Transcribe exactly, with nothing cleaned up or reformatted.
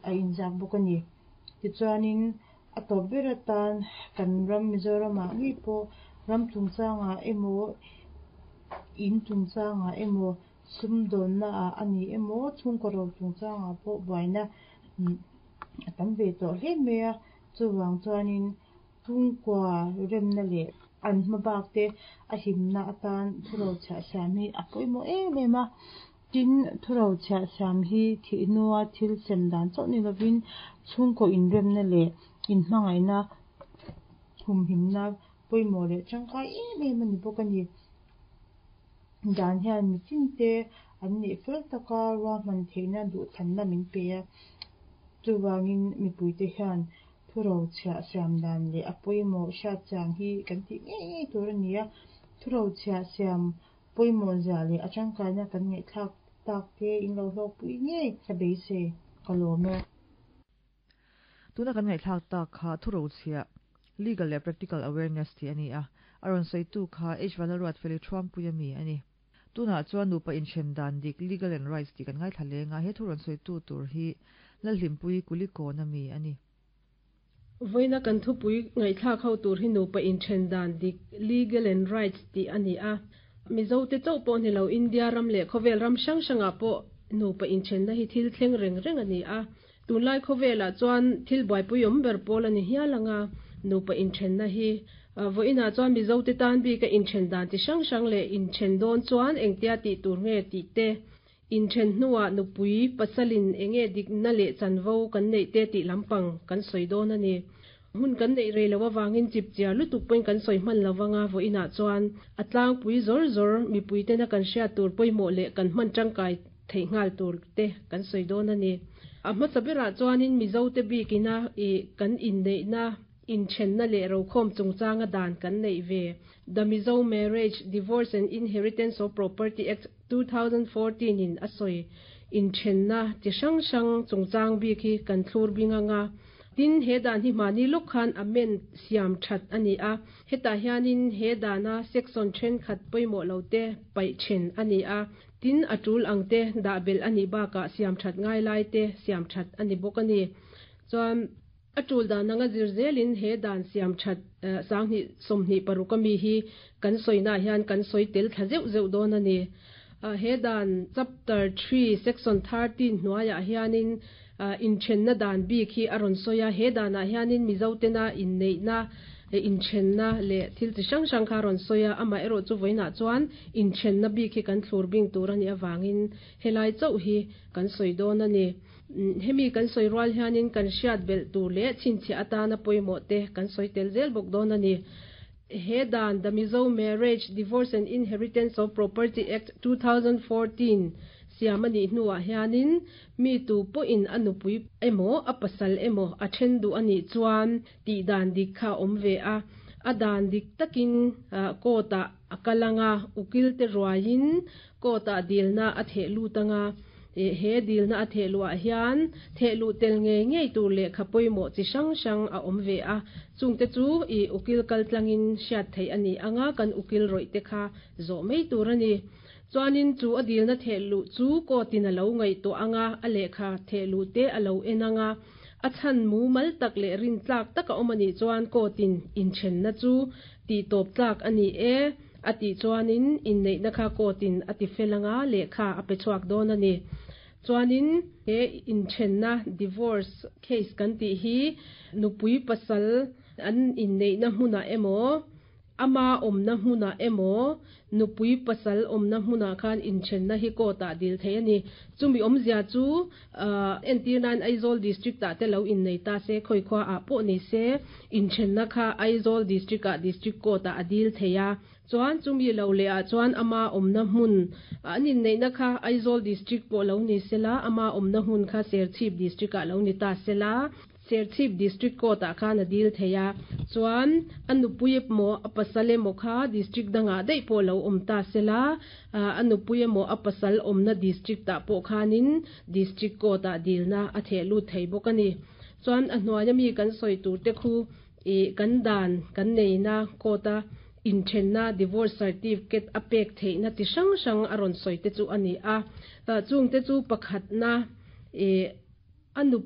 a inziak bawk a ni. Tichuanin a tawp ber atan kan ram Mizoramah ngei pawh ram chungchangah emaw in chungchangah emaw sumdawnna ah a ni emaw chhungkaw ro chungchangah pawh buaina a tam ve tawh hle mai a chuvang chuanin chhungkua remna leh an hmabak te a himna atan thurochhiah siam hi a pawimawh em em a tin thurochhiah siam hi thih hnua thil sem dan chauh ni lovin chhungkaw inremna leh inhmangaihna humhimna pawimawh leh tangkai em em a ni bawk a ni. Dan hian mi tinte an neih fel taka ruahman theihna duhthlanna min pe a chuvangin mipuite hian thurochhiah siam dan leh a pawimawh hriat chian hi kan tih ngei ngei tur a ni a thurochhiah siam pawimawh zia leh a tangkaina kan ngaihthlak tak te in lo hlawkpui ngei ka beisei ka lawm e. Tuna kan ngaihthlak tak kha thurochhiah legal leh practical awareness ti ani a aron saitu kha H Vanlalruat feli thuam pui ami ani tuna chuan nupa inthen dan dik legal and rights ti kan ngai thalenga he thuron saitu tur hi lalhlimpui kuliko na mi ani. Voina kan thupui ngaihthlak ho tur hi nupa inthen dan dik legal and rights ti ani a Mizo te chauh pawh ni lo India ram leh khawvel ram hrang hrangah pawh nupa inthen na hi thil thleng reng reng ani a tunlai khawvelah chuan thil buaipui awm ber pawl ani hial anga nupa inthen na hi voina chuan Mizo te tan bi ka inthen dan ti hrang hrang leh inthen dawn chuan engtia ti tur nge ti te inthen hnuah nupui pasalin enge dik na leh chanvo kan nei te ti lampang kan soi dawn ani hun kan nei rei lo awangin chip chiar lutuk point kan soi hman lawanga voina chuan atlang pui zor zor mi pui te na kan hria tur poimo le kan hman tangkai thei ngal tur te kan soi dawn ani a hma sabira chuanin Mizo te bikina e kan in nei na inthen na leh ro khom chungchanga dan kan nei ve The Mizo Marriage Divorce and Inheritance of Property Act twenty fourteen in asoi inthen na ti hrang hrang chungchang bi khi kan thlur binga nga tin he dan hi mani lok khan amen siam that ani a heta hianin he dana section then khat poimo lo te pai then ani a tin atul angte da bel ani ba ka siam that ngai lai te siam that ani bok ani chuan atul dan anga zir zelin he dan siam that sang ni somni parukami hi kan soina hian kan soi tel thla zeuh zeuh dawn ani. He dan chapter three section thirteen hnuaiah hianin inthenna dan bik hi a rawn sawi a he danah hianin Mizo tena inneihna inthenna leh thil chi hrang hrang kha a rawn sawi a amah erawh chu vawiinah chuan inthenna bik hi kan thlur bing tur ani awangin helai chauh hi kan sawi dawn ani. Hemi kan sawi rual hianin kan hriat belh tur leh chhinchhiah atana pawimawh te kan sawi tel zel bawk dawn ani. He dan The Mizo Marriage Divorce and Inheritance of Property Act twenty fourteen siam ani hnuah hianin mi tu pawhin a nupui emaw a pasal emaw a then duh ani chuan tih dan dik kha awm ve a a dan dik takin court ah a kalanga ukil te ruaiin court ah dilna a theh lut anga he dilna a theh luah hian theh lu tel nge ngei tur leh kha pawimawh chi hrang hrang a awm ve a chungte chu i ukil kal tlangin hriat theih ani anga kan ukil rawih te kha zawh mai tur ani chuanin chu a dilna theh lu chu court in a lo ngaihtuah anga a lehkha theh lu te a lo en anga a chhan mu mal tak leh rin tlak taka awm ani chuan court in inthenna chu ti tawp tlak ani e a ti chuanin inneihna kha court in a ti felanga lehkha a pe chhuak dawn ani. Chuanin he inthenna divorce case kan ti hi nupui pasal an inneihna hmunah emaw ama awmna hmunah emaw nupui pasal awmna hmunah khan inthenna hi court ah dil thei ani. Chumi awmzia chu entir nan Aizawl district ah te lo innei ta se khoi khwa ah pawh ni se inthenna kha Aizawl district ah district court ah a dil thei a chuan chumi lo leh ah chuan ama awmna hmun an inneihna kha Aizawl district pawh lo ni sela ama awmna hmun kha Serchhip district ah lo ni ta sela Serchhip district court ah khan a dil thei a chuan a nupui emaw a pasal emaw kha district dangah daih pawh lo awm ta sela a nupui emaw a pasal awmna district ah pawh khanin district court ah dilna a theh lut thei bawk ani. Chuan a hnuaia mi kan sawi tur te khu i kan dan kan neina court a inthenna divorce certificate a pek theihna ti hrang hrang a rawn sawi te chu ani a chung te chu pakhatna e a nupui